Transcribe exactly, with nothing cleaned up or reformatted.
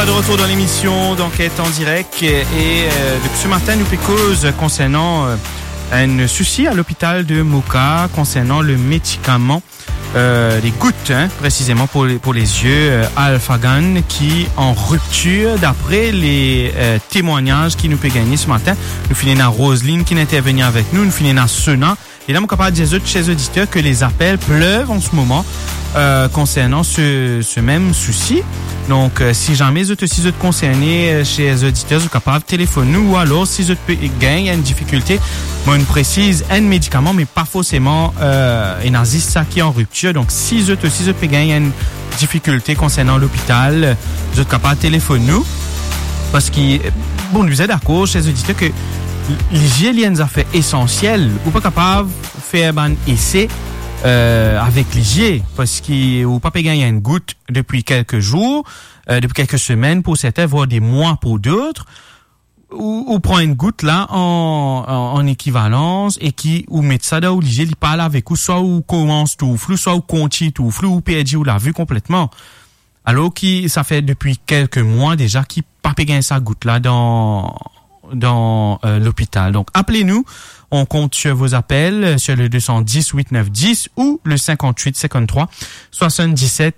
De retour dans l'émission d'Enquête en direct et, euh, depuis ce matin, nou pe koz konsernan, euh, enn sousi a lopital de Moka konsernan le medikaman, euh, les gouttes, hein, précisément pour les, pour les yeux, euh, Alphagan, ki an riptir, d'après les, euh, témoignages ki nou pe gagne ce matin. Nou finn ena Roseline ki interveni avek nou, nou finn ena Sona, E la, mo kapav dir zot, cher zoditer, ke les appels pleuvent en ce moment, euh, konsernan se, se mem sousi. Donk, euh, si zame zot osi zot konserne, euh, cher zoditer, zot kapav telefonn nou, ou alor si zot pe gagn enn difikilte, mo presiz, enn medikaman, me pa forseman, euh, ena zis sa ki an riptir. Donk, si zot osi zot pe gagn enn difikilte konsernan lopital, zot kapav telefonn nou. Parski, bon, nou bizin dakor, cher zoditer, ke lizie li enn zafer esansiel. Ou pa kapav fer bann ese, euh, avek lizie, parski ou pa pe gagn enn gout depi kelke zour, euh, depi kelke semenn pou sertin, vwar de mwa pou dot. Ou, ou pran enn gout la an, an, an ekivalans e ki ou met sa dan ou lizie, li parl avek ou, swa ou koumans trouv flou, swa ou kontign trouv flou, ou perdi ou lavi konpletman. Alor ki sa fer depi kelke mwa deza ki pa pe gagn sa gout la dan, dan, euh, lopital. Donk, apel nou, on compte sur vos appels, euh, sur le deux cent dix huit neuf dix ou le cinquante-huit cinquante-trois soixante-dix-sept